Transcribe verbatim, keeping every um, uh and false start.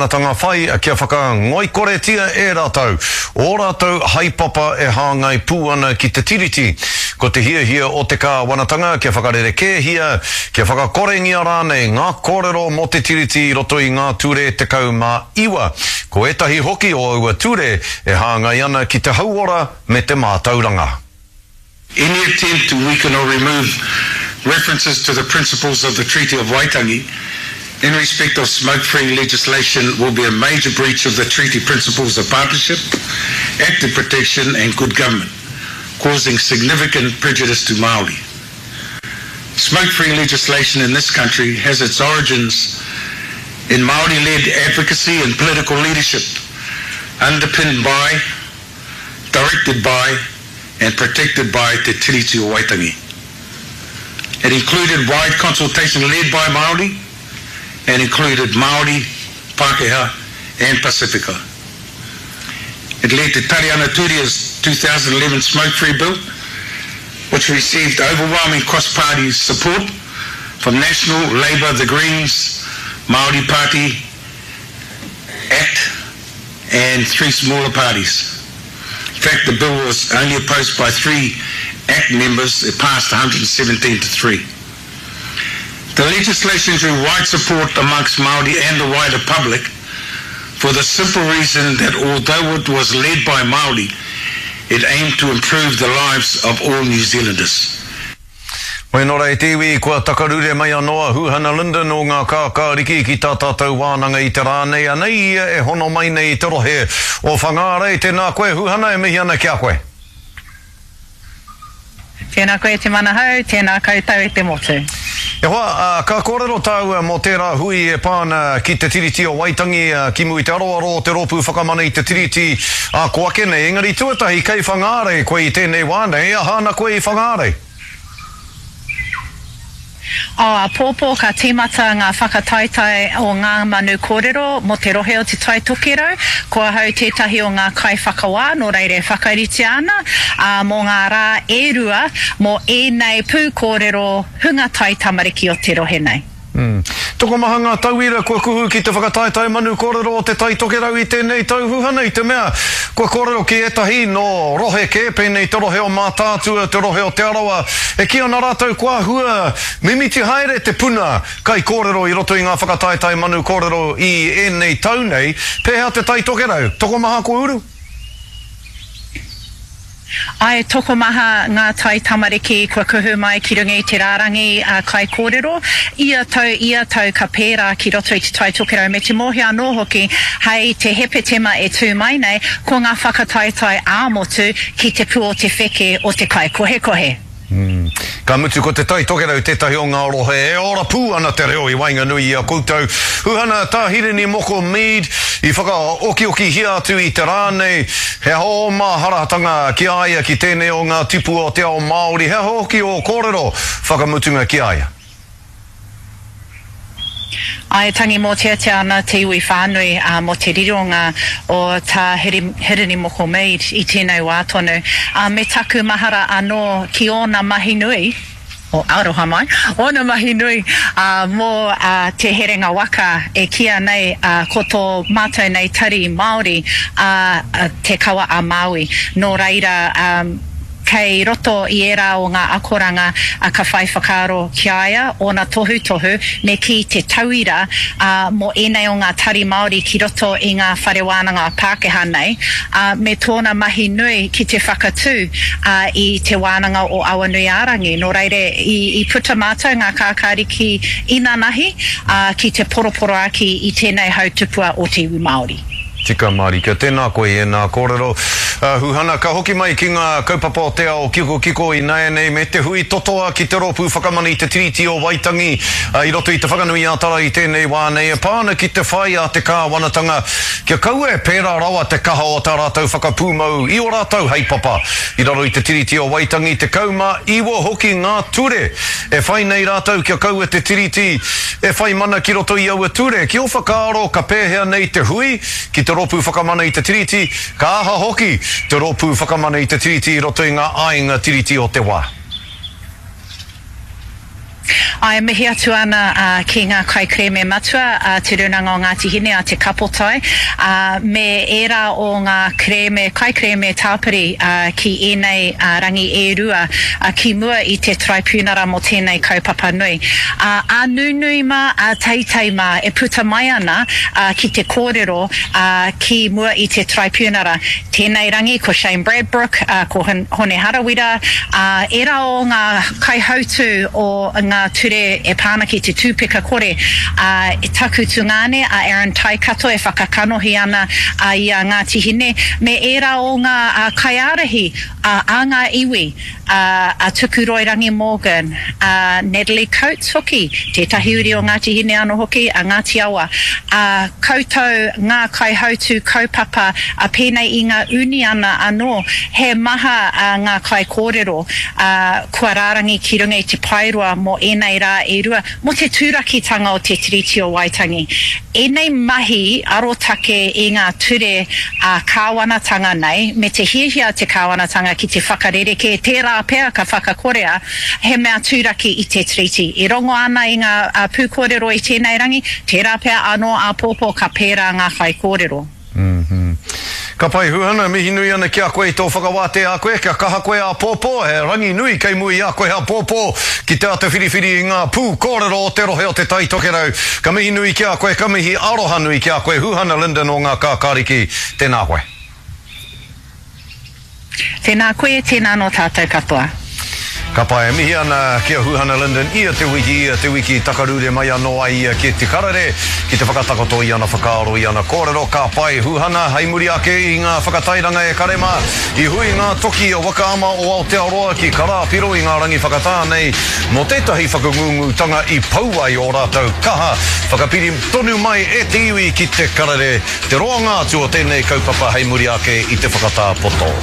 kāwanatanga whai kia whakangoikoretia e rātou ō rātou haepapa e hāngai pū ana ki te Tiriti. Ko te hiahia o te kāwanatanga kia whakarerekēhia, kia whakakorengia rānei ngā kōrero mō te Tiriti i roto i ngā ture tekau mā iwa. Ko ētahi hoki o aua ture e hāngai ana ki te hauora me te mātauranga. Any attempt to weaken or remove references to the principles of the Treaty of Waitangi in respect of smoke-free legislation will be a major breach of the treaty principles of partnership, active protection and good government, causing significant prejudice to Māori. Smoke-free legislation in this country has its origins in Māori-led advocacy and political leadership, underpinned by, directed by and protected by Te Tiriti o Waitangi. It included wide consultation led by Māori and included Māori, Pākehā and Pasifika. It led to Tariana Turia's two thousand eleven Smoke-Free Bill, which received overwhelming cross-party support from National, Labour, the Greens, Māori Party, ACT and three smaller parties. In fact, the bill was only opposed by three ACT members. It passed a hundred and seventeen to three. The legislation drew wide support amongst Māori and the wider public for the simple reason that although it was led by Māori, it aimed to improve the lives of all New Zealanders. Hoi nō rei te iwi, kua takarure mai anō a Huhana Lyndon o ngā kākāriki ki tā tātou wānanga i te rā nei. Anei ia e hono mai nei i te rohe o Whangārei. Tēnā koe, Huhana, e mihi ana ki a koe. Tēnā koe te manahau, tēnā koutou e te motu. E hoa, uh, ka kōrero tāua mō tērā hui e pāna ki te Tiriti o Waitangi, uh, ki mua i te aroaro o te rōpū whakamana i te Tiriti a ko ake nei. Engari tuatahi kei Whangārei koe i tēnei wā nei, aha ana koe i Whangārei? O āpōpō ka tīmata ngā whakataetae o ngā manu kōrero mō te rohe o Te Tai Tokerau. Ko ahau tētahi o ngā kaiwhakawā, nō reira e whakaritea ana, ā, mō ngā rā e rua mō ēnei pūkōrero hunga tai tamariki o te rohe nei. Mm. Tokomaha ngā tauira kua kuhu ki te whakataetae manu kōrero o Te Tai Tokerau i tēnei tau Huhana, i te mea kua kōrero ki ētahi nō rohe kē, pēnei te rohe o Mātaatua, te rohe o Te Arawa, e kī ana rātou kua hua mimiti haere te puna kai kōrero i roto i ngā whakataetae manu kōrero i ēnei tau nei. Pēhea Te Tai Tokerau? Tokomaha kua uru? Ai, tokomaha ngā tai tamariki kua kuhu mai ki runga i te rārangi a kaikōrero. Ia tau, ia tau ka pērā ki roto i Te Tai Tokerau me te mōhio anō hoki hei te Hepetema e tū mai nei, ko ngā whakataetae ā-motu ki te pū o te wheke o te kaikohekohe. Mm. Ka mutu ko Te Tai Tokerau tētahi o ngā rohe e ora pū ana te reo i waenganui i a koutou. Huhana, tā Hirini Moko Mead i whakaokiokihia atu i te rā nei, he aha o māharatanga ki a ia ki tēnei o ngā tipu o te ao Māori, he aha hoki o kōrero whakamutunga ki a ia? Ai, tangi mōteatea ana te iwi whānui uh, mō te rironga o tā Hirini Moko Mead i tēnei wā tonu. Uh, me taku mahara anō ki ōna mahi nui, o aroha mai, ōna mahi nui uh, mō uh, te herenga waka e kīa nei uh, ko tō mātou nei tari Māori uh, te kawa a Māui. Nō reira, um, kei roto i ērā o ngā akoranga uh, ka whai whakaaro ki a ia, ōna tohutohu, me ki te tauira uh, mō ēnei o ngā tari Māori ki roto i ngā whare wānanga Pākehā nei, uh, me tōna mahi nui ki te whakatū uh, i te wānanga o Awanuiārangi. Nō reira, i, i puta mātou ngā kākāriki inanahi uh, ki te poroporoaki i tēnei hautupua o te iwi Māori. Tika Marika, tēnā koe e nā kōrero. Uh, Huhana, ka hoki mai ki ngā kaupapa o te ao kiko kiko i nāianei me te hui totoa ki te rōpū whakamana i te Tiriti o Waitangi uh, i roto i te Whanganui-ā-Tara i tēnei wā nei e pā ana ki te whai a te kāwanatanga kia kaua e pērā rawa te kaha o tā rātou whakapūmau i o rātou heipapa. I raro i te Tiriti o Waitangi, tekau mā iwa hoki ngā ture e whai nei rātou kia kaua te Tiriti e whai mana ki roto i aua ture. Ki o whakaaro ka pēhea nei te hui ki te rōpū whakamana i te Tiriti, ka aha hoki te rōpū whakamana i te Tiriti i roto i ngā āinga Tiriti o te wā. Āe, mihi atu ana ki ngā kaikerēme matua a Te Rūnanga o Ngāti Hine, a Te Kapotai, ā, me ērā o ngā kerēme, kaikerēme tāpiri ki ēnei rangi e rua ki mua i te Taraipiunara mō tēnei kaupapa nui. Ā, ā nunui mā, ā teitei mā e puta mai ana ki te kōrero ki mua i te Taraipiunara. Tēnei rangi ko Shane Bradbrook, ko Hone Harawira, ā, ērā o ngā kaihautū o ngā ture e pā ana ki te tūpeka kore, ā, taku tungāne a Aaron Taikato e whakakanohi ana i a Ngāti Hine, me ērā o ngā kaiārahi a ngā iwi, a Tukuroirangi Morgan, a Natalie Coates hoki, tētahi uri o Ngāti Hine anō hoki, a Ngāti Awa, ā, koutou ngā kaihautū kaupapa pēnei i ngā uniana anō, he maha ngā kaikōrero, ā, kua rārangi ki runga i te paeroa mō ēnei rā e rua, mō te tūrakitanga o te Tiriti o Waitangi. Ēnei mahi arotake i ngā ture ā-kāwanatanga nei, me te hiahia a te kāwanatanga ki te whakarerekē, tērā pea ka whakakorea, he mea tūraki i te Tiriti. E rongo ana i ngā pūkōrero i tēnei rangi, tērā pea anō āpōpō ka pērā ngā kaikōrero. Ka pai Huhana, mihi nui ana ki a koe i tō whakawātea a koe, kia kaha koe āpōpō, he rangi nui kei mua i a koe āpōpō ki te āta whiriwhiri i ngā pū kōrero o te rohe o Te Tai Tokerau. Ka mihi nui ki a koe, ka mihi aroha nui ki a koe Huhana Lyndon o Ngā Kākāriki, tēnā koe. Tēnā koe, tēnā anō tātou katoa. Ka pai, e mihi ana ki a Huhana Lyndon ia te wiki, ia te wiki, takarure mai anō ai ia ki Te Karere, ki te whakatakoto i ana whakaaro, i ana kōrero. Ka pai, Huhana, hei muri ake i ngā whakatairanga e kare mā, i hui ngā toki a Waka Ama o Aotearoa ki Karāpiro i ngā rangi whakatā nei mō tētahi whakangūngūtanga i pau ai ō rātou kaha. Whakapiri tonu mai e te iwi ki Te Karere te roanga atu o tēnei kaupapa hei muri ake i te whakatā poto.